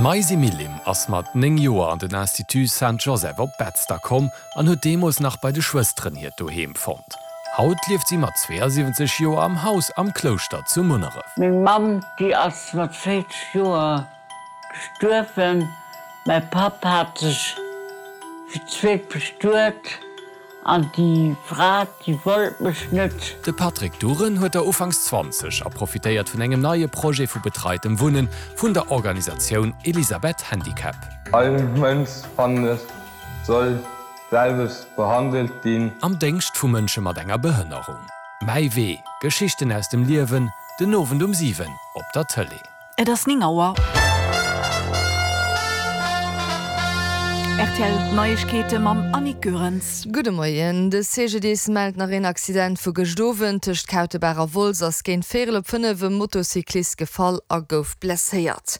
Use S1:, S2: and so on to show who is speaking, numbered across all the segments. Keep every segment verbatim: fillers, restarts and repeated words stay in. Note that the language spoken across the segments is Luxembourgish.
S1: D'Maisi Millim ass mat néng Joer an den Institut Saint-Joseph op Betzder komm an huet deemools nach bei de Schwësteren hiert Doheem fonnt. Haut lieft si mat zweeasiwwenzeg Joer am Haus am Klouschter zu Munneref.
S2: Meng Mamm, déi ass mat véierzeg Joer gestuerwen. Mäi Papp hat sech fir d'zweet bestuet an déi Fra, déi wollt mech net.
S1: De Patrick Duren huet der ufanks zwanzeg a profitéiert vun engem neie Projet vu betreitem Wunnen vun der Organisatioun Elisabeth Handicap.
S3: All Mënsch, fannen ech, soll d'selwecht behandelt ginn.
S1: Am Déngscht vu Mënsche mat enger Behënnerung. Mäi Wee, Geschichten aus dem Liewen, den Owend um siwen op der Tëlee.
S4: Et ass néng Auer. Rtl Neiegkeete mam Annick Goerens.
S5: Gudde Moien. De C G D I S mellt nach een Accident vu gëscht Owend. Tëscht Kautebaach a Wolz ass géint véierel op fënnef e Motocyclist gefall a gouf blesséiert.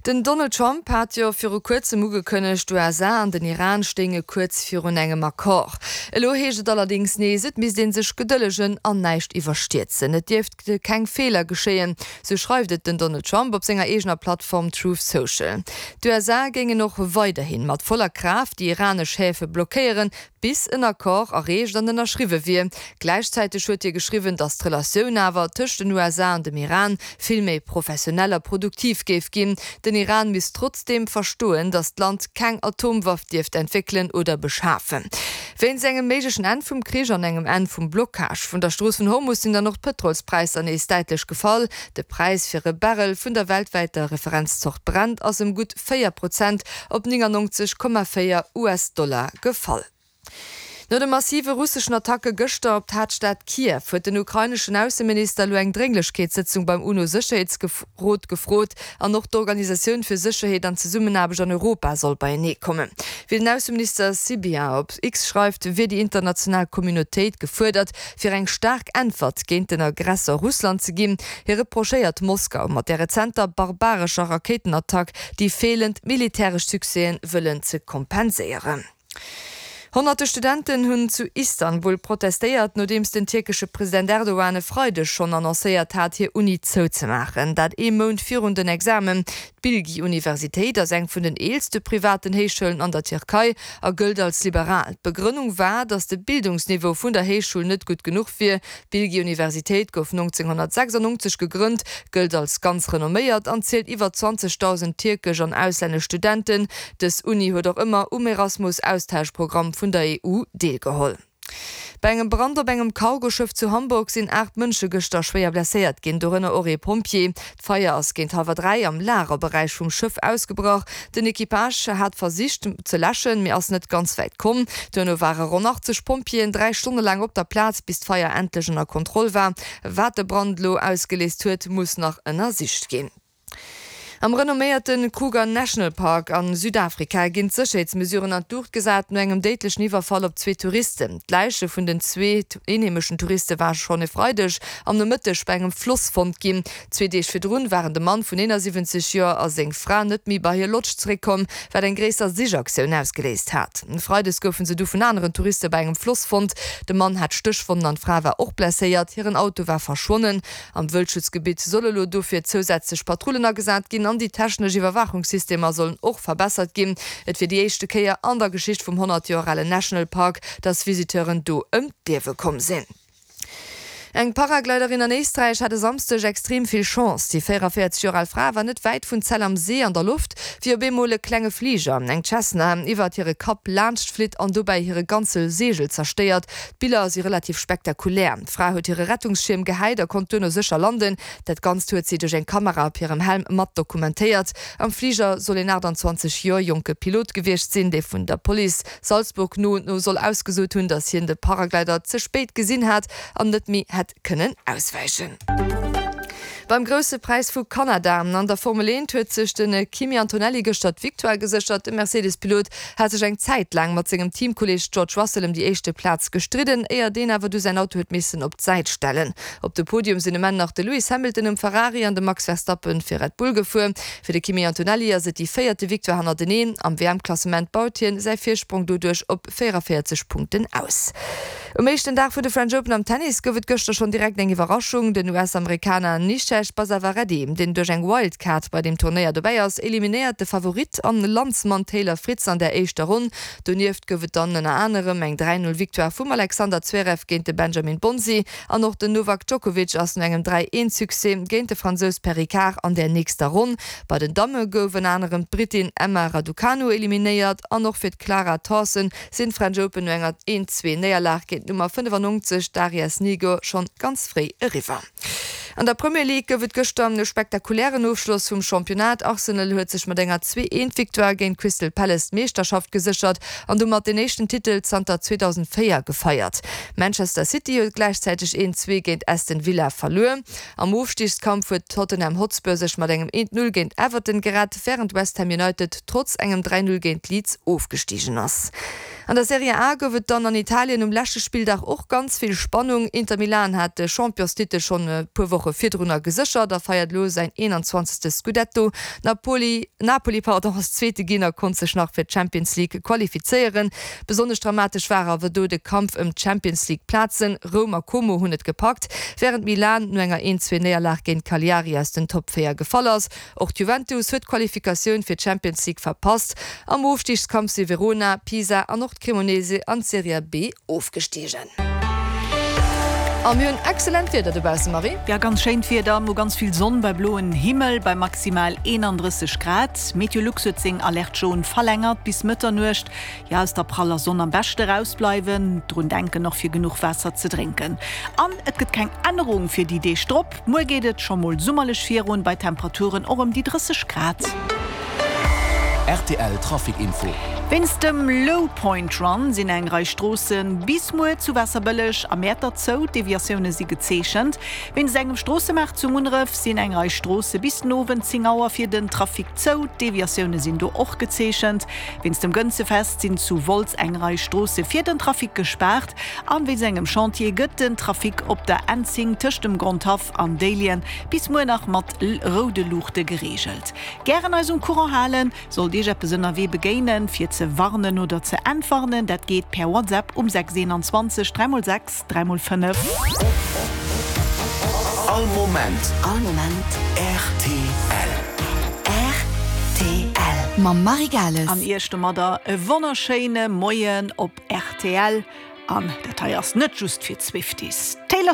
S5: Den Donald Trump hat jo viru kuerzem ugekënnegt, d'U S A an den Iran stéinge kuerz virun engem Accord. Elo heescht et allerdéngs nees, et misst ee sech gedëllegen an näischt iwwerstierzen. Et dierft keng Feeler geschéien, sou schreift et den Donald Trump op senger eegener Plattform Truth Social. D'U S A géingen och weiderhin mat voller Kraaft déi iranesch Häfe blockéieren, bis en Accord erreecht an ënnerschriwwe wier. Gläichzäiteg huet hie geschriwwen, datt d'Relatioun awer tëscht den U S A an dem Iran vill méi professionell a produktiv géif ginn. Den Iran misst trotzdeem verstoen, datt d'Land keng Atomwaff dierft entwéckelen oder beschafen. Wéinst engem méiglechen Enn vum Krich an engem Enn vum Blockage vun der Strooss vun Hormus sinn dann och d'Pëtrolspräisser nees däitlech gefall. De Präis fir e Barrel vun der weltwäiter Referenzzort Brent ass ëm gutt véier Prozent op néngannonzeg Komma véier U S-Dollar gefall. No de massive russeschen Attacke gëschter op d'Haaptstad Kiew huet den ukraineschen Ausseminister elo eng Drénglechkeetssëtzung beim UNO-Sécherheetsrot gefrot an och d'Organisatioun fir Sécherheet an Zesummenaarbecht an Europa soll beienee kommen. Wéi den Ausseminister Sybiha op X schreift, wier déi international Communautéit gefuerdert, fir eng staark Äntwert géint den Aggressor Russland ze ginn. Hie reprochéiert Moskau mat der rezenter barbarescher Rakéitenattack déi feelend militäresch Succèsen wëllen ze kompenséieren. Honnerte Studenten hunn zu Istanbul protestéiert, nodeems den tierkesche President Erdogan e Freideg schonn annoncéiert hat, hir Uni zouzemaachen. Dat ee Mount virun den Examen. D'Bilgi-Universitéit ass eng vun den eelste privaten Héichschoulen an der Tierkei a gëllt als liberal. D'Begrënnung war, datt de Bildungsniveau vun der Héichschoul net gutt genuch wier. D'Bilgi-Universitéit gouf nonzénghonnertsechsannonzeg gegrënnt, gëllt als ganz renomméiert an zielt iwwer zwanzegdausend tierkesch an auslännesch Studenten. Dës Uni huet och ëmmer um Erasmus-Austauschprogramm vun der E U deelgeholl. Bei engem Brand op engem Cargoschëff zu Hamburg sinn aacht Mënsche gëschter schwéier blesséiert ginn, dorënner och ee Pompjee. D'Feier ass géint hallwer dräi am Lagerberäich vum Schëff ausgebrach. Den Equipage hat versicht ze läschen, mee ass net ganz wäit komm. Duerno ware ronn achtzeg Pompjeeën dräi Stonne laang op der Plaz, bis d'Feier endlech ënner Kontroll war. Wat de Brand elo ausgeléist huet, muss nach ënnersicht ginn. Am renomméierte Kruger National Park a Südafrika ginn d'Sécherheetsmesuren an d'Luucht gesat no engem déidlechen Iwwerfall op zwee Touristen. D'Läiche vun den zwee eenheemeschen Touriste ware schonn e Freideg am Nomëtteg bei engem Floss fonnt ginn. Zwee Deeg virdrun waren de Mann vun eenasiwwenzeg Joer a seng Fra net méi bei hir Lodge zeréckkomm, wat eng gréisser Sichaktioun ausgeléist hat. Freides goufe se du vun aneren Touriste bei engem Floss fonnt. De Mann hat Stéchwonnen an d'Fra war och blesséiert. Hiren Auto war verschwonnen. Am Wëldschutzgebitt solle lo dofir zousätzlech Patrullen agesat ginn an déi technesch Iwwerwaachungssystemer sollen och verbessert ginn. Et wier déi éischte Kéier an der Geschicht vum honnert Joer alen National Park, dass Visiteuren do ëm d'Liewe komm sinn. Eng Paragliderin an Éisträich hat e Samschdeg extrem vill Chance. Déi véieranvéierzeg Joer al Fra war net wäit vun Zell am See an der Loft, wéi op eemol e klenge Fliger, eng Cessna, iwwert hire Kapp laanscht flitt an dobäi hire ganze Seegel zerstéiert. D'Biller si relativ spektakulär. D'Fra huet hire Rettungsschierm gehäit a konnt duerno sécher landen. Dat Ganzt huet si duerch eng Kamera op hirem Helm mat dokumentéiert. Am Fliger soll een aachtanzwanzeg Joer jonke Pilot gewiescht sinn, dee vun der Police Salzburg no no soll ausgesot hunn, datt hien de Paraglider ze spéit gesinn hat an net méi hätt kënnen auswäichen. Beim Grousse Präis vu Kanada an der Formel eent huet sech de Kimi Antonelli gëschter d'Victoire geséchert. De Mercedes-Pilot hat sech eng Zäit laang mat sengem Teamkolleeg George Russell ëm déi éischte Plaz gestridden, éier deen awer du säin Auto huet missen op d'Säit stellen. Op de Podium sinn um Enn nach de Lewis Hamilton um Ferrari an de Max Verstappen fir Red Bull gefuer. Fir de Kimi Antonelli ass et déi véierte Victoire hannerteneen. Am W M-Klassement baut hien säi Virsprong doduerch op véieranvéierzeg Punkten aus. Um éischten Dag vun de French Open am Tennis gouf et gëschter schonn direkt eng Iwwerraschung. Den U S-Amerikaner Nishesh Basavareddy, deen duerch eng Wildcard bei dem Turnéier dobäi ass, eliminéiert de Favorit an Landsmann Taylor Fritz an der éischter Ronn. Donieft gouf et dann ënner anerem eng dräi null Victoire vum Alexander Zverev géint de Benjamin Bonzi an och den Novak Djokovic ass no engem dräi eent Succès géint de Fransous Perricard an der nächster Ronn. Bei den Damme gouf ënner anerem d'Britin Emma Raducanu eliminéiert an och fir d'Clara Tauson sinn d'French Open no enger een zwee Néierlag géint d'Nummer fënnefannonzeg Daria Snigur schonn ganz fréi eriwwer. An der Premier League gouf et gëschter e spektakulären Ofschloss vum Championnat. Arsenal huet sech mat enger zwee eent Victoire géint Crystal Palace d'Meeschterschaft geséchert an domat den éischten Titel zanter zweedausendvéier gefeiert. Manchester City huet gläichzäiteg een zwee géint Aston Villa verluer. Am Ofstigskampf huet Tottenham Hotspur sech mat engem eent null géint Everton gerett, wärend West Ham United trotz engem dräi null géint Leeds ofgestigen ass. An der Serie A gouf et dann an Italien um leschte Spilldag och ganz vill Spannung. Inter Milan hat de Championstitel schonn e puer Woche virdrunner geséchert a feiert elo säin eenanzwanzegste Scudetto. Napoli, Napoli pardon, ass Zweete ginn a konnt sech nach fir d'Champions League qualifizéieren. Besonnesch dramatesch war awer do de Kampf ëm d'Champions League Plazen. Roum a Como hunn et gepackt, wärend Milan no enger een zwee Néierlag géint Cagliari aus den Top véier gefall ass. Och d'Juventus huet d'Qualifikatioun fir d'Champions League verpasst. Am Ofstigskampf si Verona, Pisa an och d'Cremonese an d'Serie B ofgestigen. A mir hunn excellent Wieder dobausse, Marie.
S4: Ja, ganz schéint Wieder, mo ganz vill Sonn bei bloen Himmel bei maximal eenandrësseg Grad. Meteolux huet seng Alerte jaune verlängert bis Mëtternuecht. Ja, aus der praller Sonn am beschte rausbleiwen, drun denken och fir genuch Waasser ze drénken. An et gëtt keng Ännerung fir déi Deeg drop. Muer geet et scho mol summerlech virun bei Temperaturen och ëm déi drësseg Grad.
S6: R T L Trafic Info.
S4: Wéinst dem Low Point Run sinn eng Rei Stroosse bis muer zu Waasserbëlleg a Mäertert zou, Deviatioune si gezeechent. Wéinst engem Stroossemaart zu Munneref sinn eng Rei Stroosse bis den Owend zéng Auer fir den Trafic zou, Deviatioune sinn do och gezeechent. Wéinst dem Gënzefest sinn zu Wolz eng Rei Stroosse fir den Trafic gespaart an wéinst engem Chantier gëtt den Trafic op der N zéng tëscht dem Grondhaff an Déiljen bis muer nach mat roude Luuchte gereegelt. Gären eis um Courant halen, sollt Iech eppes ënnerwee begéinen, fir ze warnen oder ze entwarnen, dat geet per WhatsApp um sechs eenanzwanzeg dräi mol sechs dräi mol fënnef.
S6: All Moment.
S7: All Moment.
S6: R T L.
S7: R T L. Mam Marie Gales.
S4: An Iech domadder e wonnerschéine Moien op R T L. An dat hei ass net just fir d'Swifties. Taylor